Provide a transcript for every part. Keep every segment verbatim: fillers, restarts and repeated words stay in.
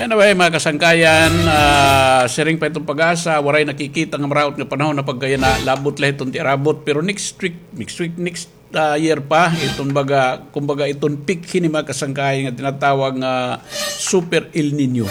Anyway, mga kasangkayan, ah, siring pa iton PAGASA, waray nakikita nga maraot nga panahon na pagkayana, labot la iton tiarabot. Pero next week, next week, next, ah, year pa, iton baga, kumbaga iton peak hini, mga kasangkayan, nga tinatawag nga Super El Niño.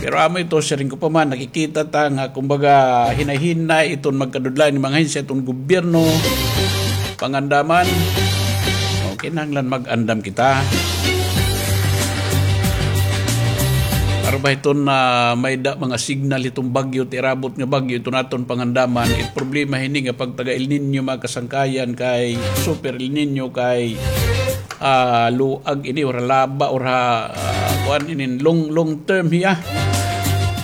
Pero amo ito, siring ko pa man, nakikita ta nga, kumbaga, hinay-hinay iton magkadudlayan nga mga ahensya iton gobyerno, pangandaman, o, kinahanglan mag-andam kita. Para ba iton, ah, may-ada mga signal iton bagyo, tiarabot nga bagyo, iton aton pangandaman. It problema hini nga pagtaga El Niño, mga kasangkayan, kay Super El Niño, kay, ah, luag ini, or laba, or ha, ah, kuan, inin long, long term hiya.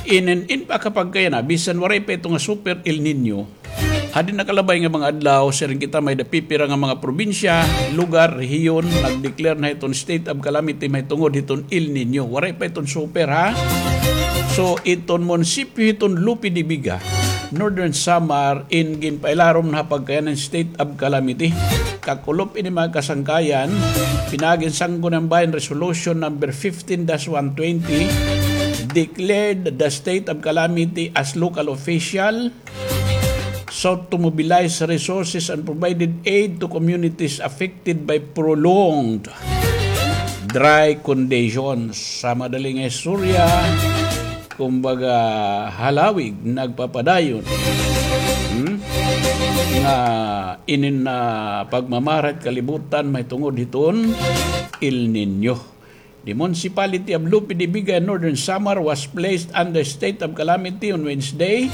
Inin, in pa kapag kaya na, bisan waray pa ito nga Super El Niño, hadi nakalabay nga mga adlaw, siring kita, may-ada pipira nga mga probinsya, lugar, rehiyon, nag-declare na hiton state of calamity mahitungod hiton El Niño. Waray pa iton super, ha? So, iton munisipyo hiton Lope de Vega, Northern Samar, in ginpailarom na ha pagkayanan state of calamity. Kakulop ini, mga kasangkayan, pinaagi hin Sangguniang Bayan Resolution number fifteen dash one twenty, declared the state of calamity as local official sought to mobilize resources and provided aid to communities affected by prolonged dry conditions. Sa madali nga istorya, kumbaga, halawig nagpapadayon, hmm, nga inin na pagmamara hit kalibutan mahitungod hiton El Niño. The municipality of Lope de Vega in Northern Samar was placed under state of calamity on Wednesday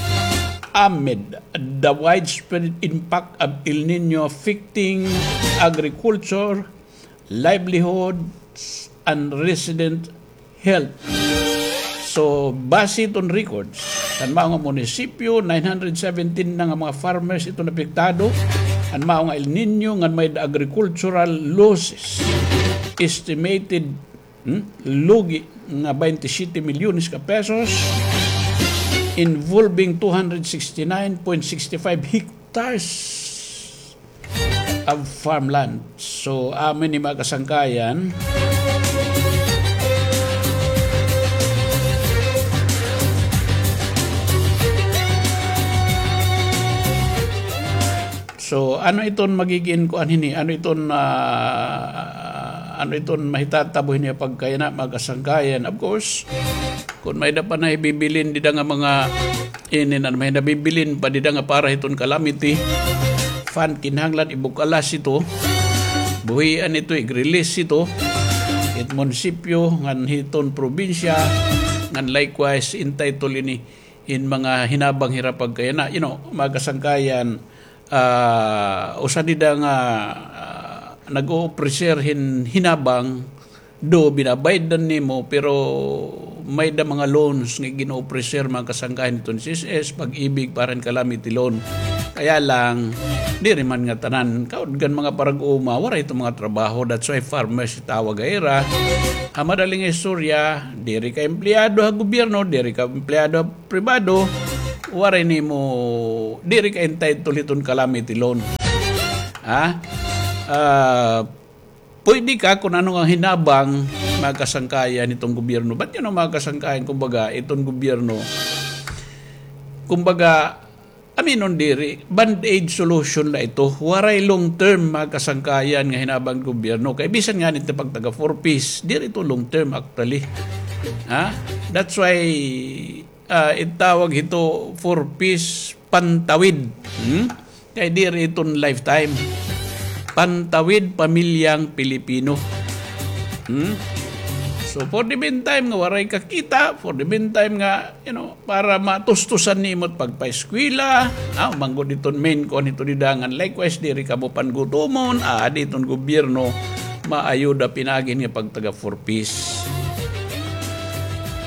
amid the widespread impact of El Niño affecting agriculture, livelihoods, and resident health. So, base iton records, an mao nga munisipyo, nine hundred seventeen na nga mga farmers iton apektado. An mao nga El Niño, ngan may-ada agricultural losses, estimated, hmm, lugi nga twenty-seven milyones ka pesos, involving two hundred sixty-nine point six five hectares of farmland. So, amo ini, mga kasangkayan. So, ano iton magigin kuan hini? Ano iton, ah, ano iton mahitatabo hini pagkayana, mga kasangkayan? Of course, kon may-ada pa na ibibilin dida nga mga inin, ano, may-ada bibilin pa dida nga para hiton calamity fund, kinahanglan ibukalas ito, buhian ito, i-release ito hit munisipyo ngan hiton probinsya, ngan likewise entitled ini hin mga hinabang hira pagkayana. You know, mga kasangkayan, ah, usa dida nga, ah, nag-o-ofrecer hin hinabang, do binabaydan nimo, pero may-ada mga loans nga gin-o-ofrecer, mga kasangkayan, hiton C S S, Pag-ibig, para hin calamity loan. Kaya lang, diri man nga tanan. Kaudgan mga parag-uma, waray iton mga trabaho. That's why farmers itawag ha ira. Ha madali nga istorya, diri ka empleyado ha gobyerno, diri ka empleyado ha pribado, waray nimo, diri ka entitled hiton calamity loan. Ha? Ah, pwede ka kon ano nga hinabang, mga kasangkayan, hiton gobyerno. But, you know, mga kasangkayan, kumbaga, iton gobyerno, kumbaga, aminon diri, band-aid solution la ito. Waray long term, mga kasangkayan, nga hinabang gobyerno. Kay bisan ngani it pagtaga four Ps, diri ito long term actually. Ha? That's why, ah, itawag hito four Ps pantawid. Hmm? Kay diri iton lifetime. Pantawid pamilyang Pilipino. Hmm? So, for the meantime nga waray ka kita, for the meantime nga, you know, para matustusan nimo it pagpaeskwela, ah, manggod iton main kuan hito dida, ngan likewise, diri kamo pangutomon, ah, adi iton gobyerno, maayuda pinaagi hin nga pagtaga four Ps.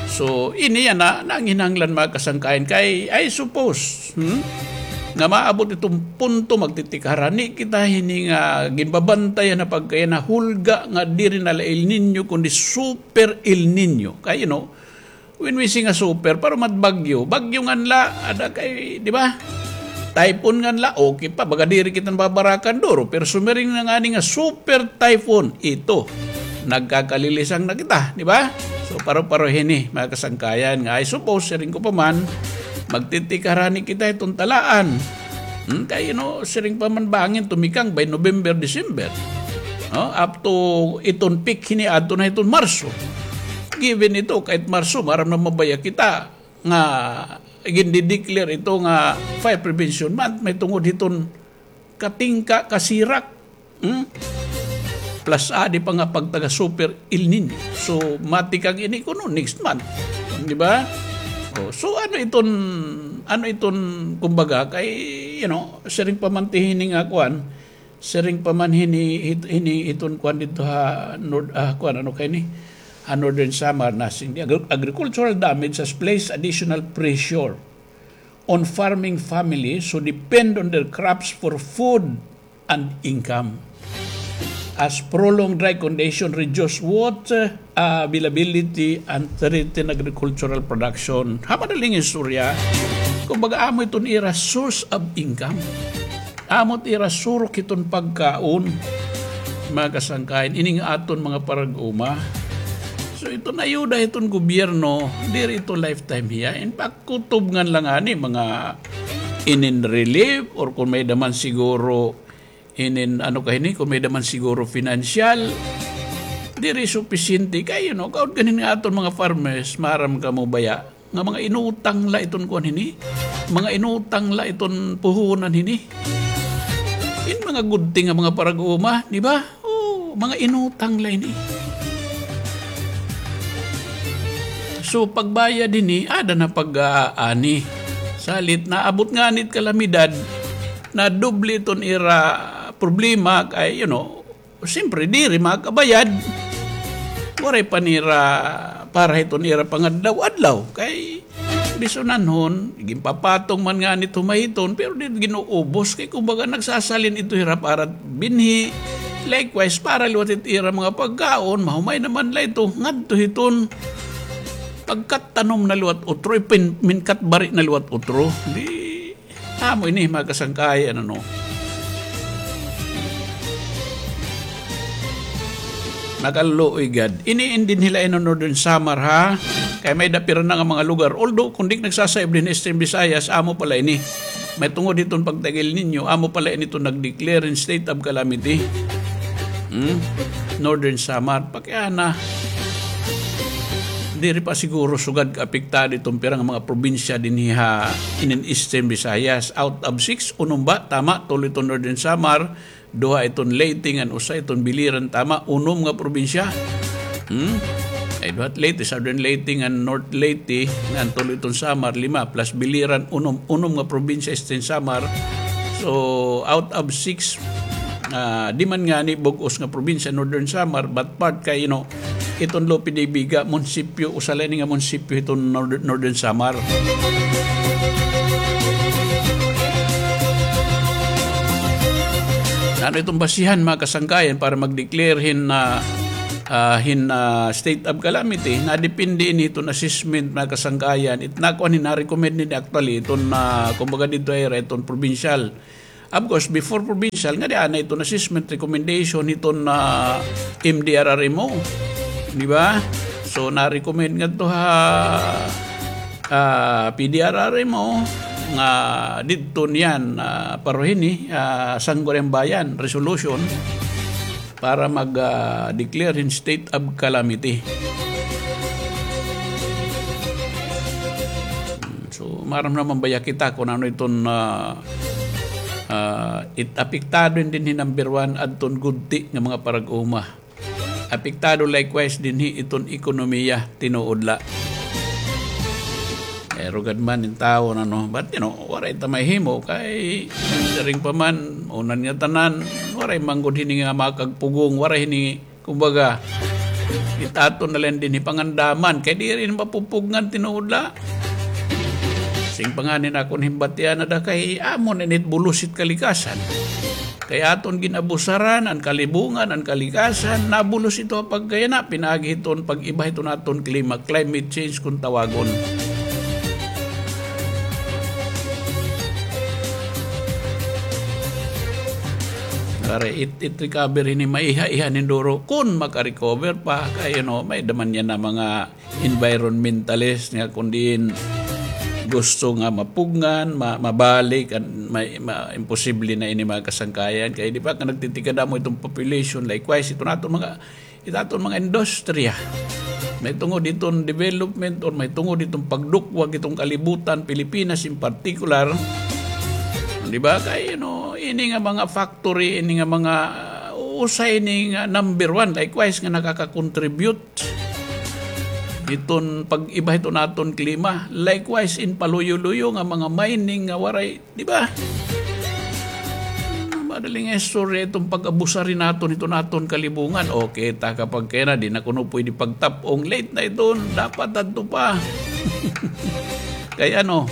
So, ini yana, nanginahanglan, mga kasangkayan, kay, I suppose, hmm? Nga maabot iton punto, magtitikharani kita hini nga ginbabantayan na pagkayana hulga nga diri na la El Niño, kundi Super El Niño. Kay, you know, when we say nga super, para mat bagyo. Bagyo ngan la, ada kay, di ba? Typhoon ngan la, okay pa. Baga diri kita nababarakan duro. Pero sumiring na ngani nga super typhoon, ito, nagkakalilisang na kita, di ba? So, paro-paro hini, mga kasangkayan, nga I suppose, siring ko pa man, magtitikar ngani kita hiton talaan. Hmm, kay, you know, siring pa man bangin tumikang by November, December. No? Up to iton peak hini adto na hiton Marso. Given ito, kahit Marso, maaram na mabaya kita nga gindideclare ito nga fire prevention month, mahitungod hiton katingka, kasirak. Hmm? Plus, adi pa nga pagtaga super El Niño. So, matikang ini kuno next month. Di ba? Oh, so, ano iton, ano iton, kumbaga, kay, you know, siring pa man ti hini nga kuan, siring pa man hini, hit-, hini iton kuan didto ha North, ah, kuan, ano kay ni? Ha Northern Samar, nasing di agri-, agricultural damage has placed additional pressure on farming families who depend on their crops for food and income. As prolonged dry condition reduce water availability and threaten agricultural production. Ha madaling istorya, kumbaga, amo iton ira source of income. Amo it ira surok hiton pagkaon, mga kasangkayan, ini nga aton mga parag-uma. So, iton ayuda hiton gobyerno, diri ito lifetime hiya. In fact, kutob ngan la ngani, mga inin relief, or kon may-ada man siguro inin, ano ka hini, kon may-ada man siguro financial, diri supisyente kay, you know, kaon ganin nga aton mga farmers, maaram kamo baya, nga mga inutang la iton kuan hini, mga inutang la iton puhunan hini. In mga good thing nga mga parag-uma, di ba? Oh, mga inutang la ini. So, pagbayad hini, ada na pag-aani. Salit, naabot ngani it kalamidad, nadoble iton ira problema kay, you know, siyempre, diri makabayad. Waray pa nira para hiton ira pangadlaw-adlaw. Kay bisunanhon, ginpapatong man ngani it humahiton, pero diri gin-uubos. Kay kumbaga, nagsasalin ito hira para binhi. Likewise, para liwat it ira mga pagkaon, mahumay naman la ito ngadto hiton pagkatanom na liwat utro, ipin-, minkatbari na liwat utro. Di, amo ini, mga kasangkayan, ano. Nakaluoy gad. Ini in dinhi la in Northern Samar, ha? Kay may-ada pira na nga mga lugar. Although, kon di nagsasayob dinhi Eastern Visayas, amo pa la ini. Mahitungod hiton pagtaga El Niño, amo pa la ini iton nag-declare hin state of calamity. Hmm? Northern Samar. Kay ana, diri pa siguro sugad kaapektado iton pira nga mga probinsya dinhi ha inin Eastern Visayas. Out of six, unom ba? Tama, tulo iton Northern Samar, duha iton Leyte, ngan usa iton Biliran, tama, unom nga probinsya. Hmm? Ay, duha it Leyte, Southern Leyte, ngan North Leyte, ngan tulo iton Samar, lima, plus Biliran, unom, unom nga probinsya, Eastern Samar. So, out of six, ah, di man ngani bug-os nga probinsya, Northern Samar, but part kay, you know, iton Lope de Vega, munisipyo, usa la ini nga munisipyo hiton Northern, Northern Samar. Ano iton basihan, mga kasangkayan, para mag-declare hin, ah, ah, hin, ah, state of calamity? Nadepende ini hiton assessment, mga kasangkayan. It nakuan hin, na-recommend ini actually, iton, ah, kumbaga didto ha ira, iton provincial. Of course, before provincial, ngadi ana iton assessment recommendation hiton, ah, M D R R M O. Di ba? So, na-recommend ngadto ha, ah, P D R R M O nga didto niyan, ah, paro hini, ah, Sangguniang Bayan resolution para mag, ah, declare hin state of calamity. Hmm, so, maaram naman baya kita kon ano iton, ah, ah, it apektado dinhi number one adton gudti nga mga parag-uma. Apektado likewise dinhi iton ekonomiya, tinuod la. Eh, rugad man in tawo, ano, but, you know, waray ta mahimo kay siring pa man, una nga tanan, waray man gud hini nga makagpugong, waray hini, kumbaga, it aton na la dinhi pangandaman kay diri na mapupugngan, tinuod la. Siring pa ngani hin akon himbatian, ada kay amo na ini it bulos hit kalikasan. Kay aton gin-abusaran an kalibungan, an kalikasan, nabulos ito ha pagkayana, pinaagi hiton pag-iba hiton aton klima, climate change kon tawagon. Para it, it recover ini maiha-iha nin duro. Kun maka-recover pa, kay, you know, may-ada man yana mga environmentalist nga kun diin gusto nga mapugngan, ma-, mabalik, an-, may, ma-, imposible na ini mga kasangkayan. Kay di ba, nga nagtitikadamo iton population, likewise, iton aton mga, iton aton mga industriya. Mahitungod iton development or mahitungod iton pagdukwag iton kalibutan, Pilipinas in particular. Di ba? Kay, you know, ini nga mga factory, ini nga mga, uh, usa ini nga number one, likewise, nga nakaka-contribute iton pag-iba hiton aton klima. Likewise, in paluyo-luyo nga mga mining nga waray, di ba? Madaling istorya iton pag-abusar naton hiton aton kalibungan. Okay, ta kapag kaya na, di na kuno pwede pagtap-ong, late na iton. Dapat adto pa. Kay ano,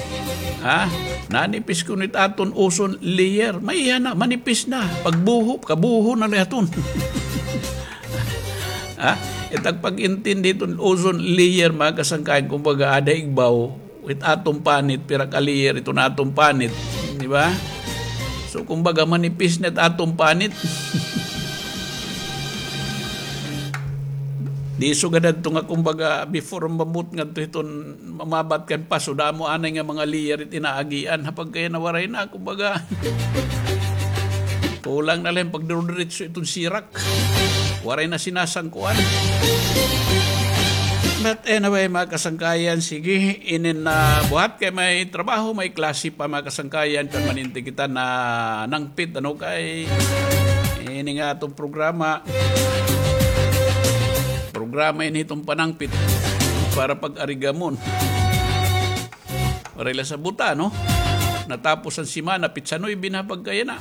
ha? Nanipis kuno it aton ozone layer. Maiha na, manipis na. Pagbuho, kabuho na la iton. Ha? It ak pag-intindi iton ozone layer, mga kasangkayan, kumbaga, ada igbaw, it aton panit, pira ka layer iton aton panit, di ba? So, kumbaga, manipis na it aton panit. Di sugad adto nga, kumbaga, before mamut ngadto hiton mamabat kan paso, damo anay nga mga layer it inaagian. Ha pagkaya na waray na, kumbaga, kulang na la hin pagdirudiritso iton sirak. Waray na sinasangkuan. But anyway, mga kasangkayan, sige, inin na buhat kay may trabaho, may klase pa, mga kasangkayan, kan maninti kita na nangpit, ano, kay ini nga aton programa. Programa ini hiton panangpit para pag-arigamon. Waray la sabuta, no? Natapos an semana, pitsa nuebe na pagkaya na.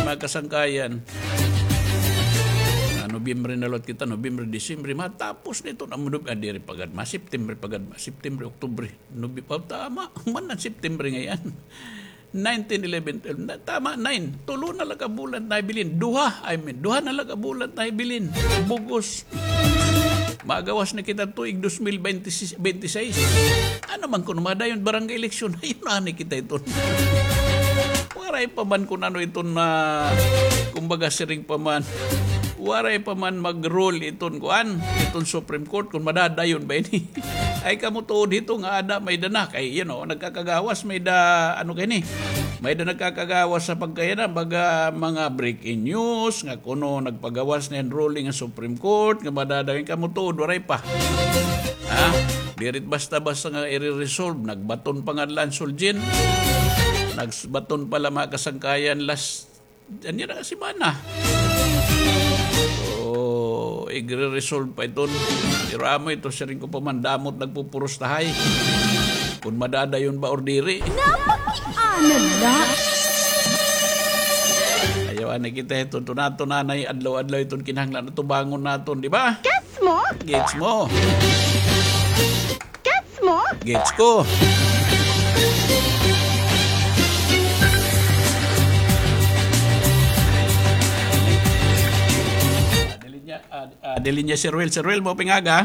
Mga kasangkayan. Ah, Nobyembre na liwat kita, Nobyembre, Disyembre, matapos na iton, ah, Nob-, ah, diri pa gad ma, September pa gad ma, September, Oktubre, Nobe-, ah, tama, man an September ngay-an. Nineteen, eleven, twelve, na, tama, nine. Tulo na la ka bulan naibilin. Duha, I mean, duha na la ka bulan naibilin. Bug-os. Magawas na kita tuig dos mil bente, bente seis. Ano man kuno madayon barangay eleksyon? Ayun na ni kita iton. Waray pa man kun ano iton na, kumbaga, siring pa man. Waray pa man mag-rule iton kuan, iton Supreme Court kun madadayon ba ini. Ay, kamo tuod hito nga ada may-ada na kay, you know, nagkakagawas, may-ada, ano kay ni? May-ada nagkakagawas sa pagkaya na, baga mga breaking news, nga kuno nagpagawas na hin ruling an Supreme Court, nga madadayon, kamo tuod, waray pa. Ha? Diri it basta-basta nga ire-resolve. Nagbaton pa nga la an Sulgin. Nagbaton pa la, mga kasangkayan, last, ano na, semana. So, igre-resolve pa iton. Pero amo ito, siring ko pa man, damo it nagpupurustahay kun madadayon ba or diri. Napakiana la. Ayaw anay kita iton, tuna-tuna na adlaw-adlaw iton kinahanglan atubangon naton, di ba? Gets mo? Gets mo? Gets mo? Gets ko. Ah, dili niya, ah, ah, dili niya, Sir Will. Sir Will, maupay nga aga.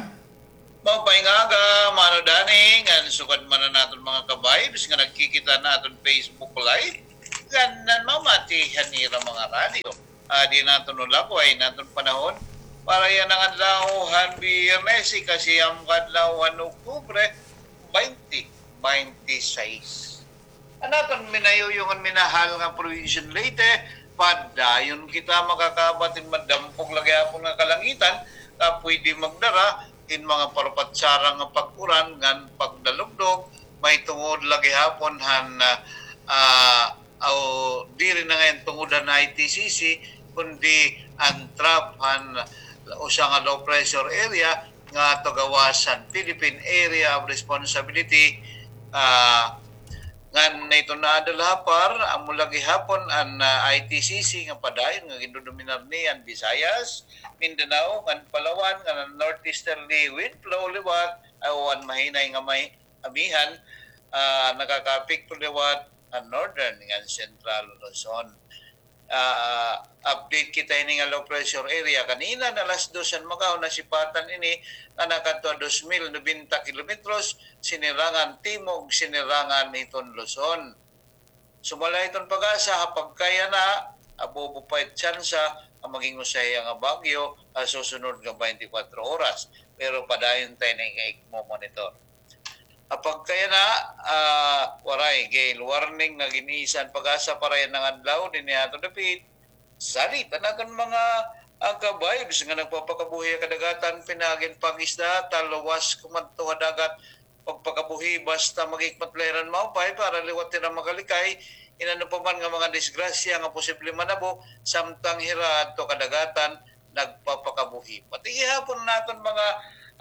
Maupay nga aga, Mano Danny, ngan sugad man an aton mga ka-vibes nga nagkikita han aton Facebook Live, ngan namamati han ira mga radyo. Ah, di naton ulabo, ay naton panahon para yana nga adlaw han Biyernes, ikasiyam ka adlaw han Oktubre, baynte baynte sais. An aton minayuyong ngan minahal nga probinsya han Leyte, padayon kita makakaabat hin madampog la gihapon nga kalangitan nga pwede magdara hin mga parpatsarang nga pag-uran ngan pagdalugdog, mahitungod la gihapon han, ah, ah, o diri na ngay-an tungod han I T C C, kundi an trough han usa nga low pressure area nga ato gawas han Philippine Area of Responsibility, ah, ngan iton naada la ha PAR, amo la gihapon an, ah, I T C C nga padayon nga gindodominar niya an Visayas, Mindanao, ngan Palawan, ngan an northeasterly wind flow liwat, o an mahinay nga may amihan, ah, nakakaapekto liwat an northern ngan central Luzon. Ah, update kita ini nga low pressure area. Kanina na alas dos han maghapon nasipatan ini nga nakadto ha dos mil nobenta kilometros, sinirangan timog, sinirangan hiton Luzon. Sumala hiton PAGASA, ha pagkayana, Abubo pa it tsansa nga maging usa hiya nga bagyo ha susunod nga twenty-four oras. Pero padayon ta ini nga igmo-monitor. Ha pagkayana, ah, waray gale warning nga gin-isa han PAGASA para yana nga adlaw dinhi ha aton dapit. Salit an aton mga, ah, ka-vibes nga nagpapakabuhi ha kadagatan, pinaagi han pangisda, talwas kumadto ha dagat, pagpakabuhi basta maghikmat la hira hin maupay para liwat hira makalikay hin ano pa man nga mga disgrasya nga posible manabo samtang hira adto kadagatan nagpapakabuhi. Pati gihapon an aton mga,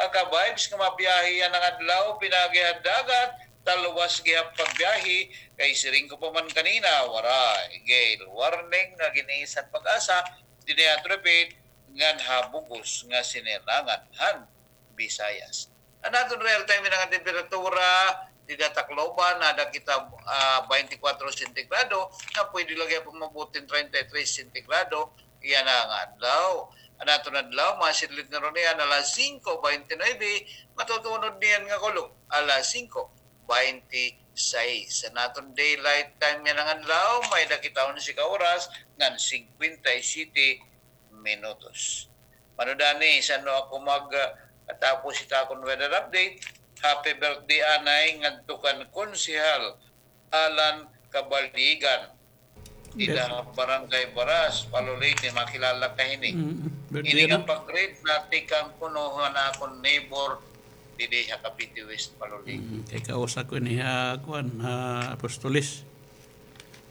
ah, ka-vibes nga mabiyahe yana nga adlaw pinaagi ha dagat, talwas gihap pagbiyahe kay siring ko pa man kanina, waray gale warning nga gin-isa han PAGASA dinhi ha aton dapit ngan ha bug-os nga sinirnangan han Visayas. An aton real time yana nga temperatura dida ha Tacloban, nada kita, ah, twenty-four sentigrado, nga pwede la gihapon maabot hin treinta y tres sentigrado yana nga adlaw. An aton adlaw, masidlot na runo niyan alas singko bente nuebe, matutunod niyan nga kulop alas singko bente sais. An aton daylight time yana nga adlaw, may-ada kita onse ka oras ngan singkwenta y siyete minutos. Mano dani, san-o ako mag, ah, katapos it akon weather update? Happy birthday anay ngadto kan Konsehal Alan Kabaligan. Dida ha Barangay Baras, Palo, Leyte, makilala ka hini. Mm, birthday, ini nga pag-greet natikang kuno han akon neighbor didi ha Cavite West, Palo, Leyte. Mm, kay kausa ko ini ha, kuan, ha Apostoles.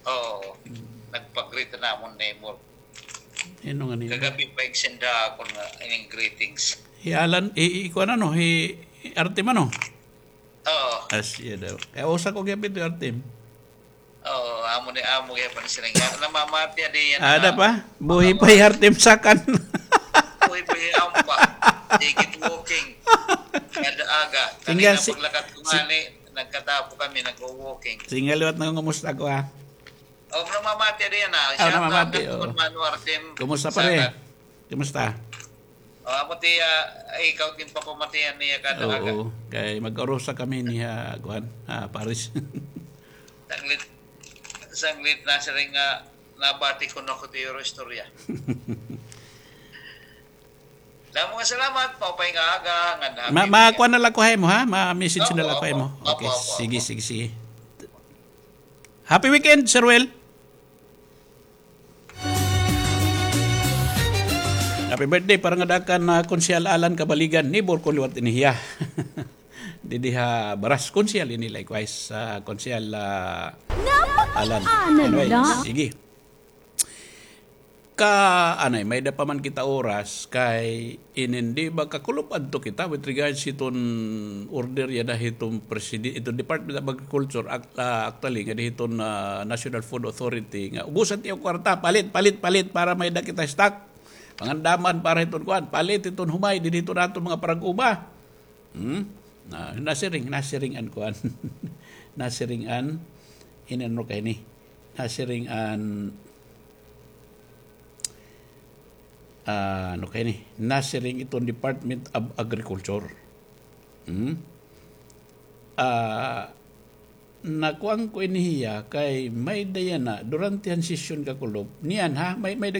Oo. Mm. Nagpag-greet an amon neighbor. Ano nga neighbor? Kagab-i pa igsenda akon nga ining greetings. Hi Alan, hi, hi, kuan ano, hi Artem ano? Oo. Asya daw. Kay usa ko gihapon ito, Artem. Oo, amo ni, amo gihapon sila nga. Namamati adi yan. Ada pa? Buhi pa hi Artem Sakan. Buhi pa hi Ampa. Sige, walking. Kada aga. Kanina paglakat ko nga ni, nagkatapo kami, nag-walking. Sige, liwat na kung kumusta ko, ha? Oh, namamati adi yan, ha. Oh, namamati, oo. Kumusta, pare? Kumusta? O, amo ti, ah, ikaw ginpapamatian niya kada aga. Oo, kay mag-urusa kami niya, kuan, ah, Paris. Sanglit, sanglit nasiring nga nabati ko na ko ti iro istorya. Damo nga salamat, maupay nga aga, nga happy weekend. Ma-, kuan na la ko ha imo, ha? Ma-message na la ko ha imo. Opo, opo, opo. Okay, sige, sige, sige. Happy weekend, Sir Will. Happy birthday para ngada kan, ah, Konsehal Alan Kabaligan, neighbor ko liwat ini hiya. Didi ha Baras, Konsehal ini likewise, ah, Konsehal, ah, Alan. Anyway, sige. Ka, anay, may-ada pa man kita oras, kay inin di ba kakulop adto kita with regards hiton order yana hiton preside-, hiton Department of Agriculture, act-, ah, actually, nga hiton, ah, National Food Authority, nga ugusan tiyo kwarta, palit, palit, palit, para may-ada kita stock. Pangandaman para hiton kuan, palit hiton humay, didi hiton aton mga parag-uba. Hmm? Na, nasiring, nasiring an kuan. Nasiring an, inano kay ni? Nasiring an, ah, ano kay ni? Nasiring iton Department of Agriculture. Hmm? Ah, nakuan ko ini hiya kay may-ada yana, durante han sesyon kakulop. Niyan, ha? May, may-ada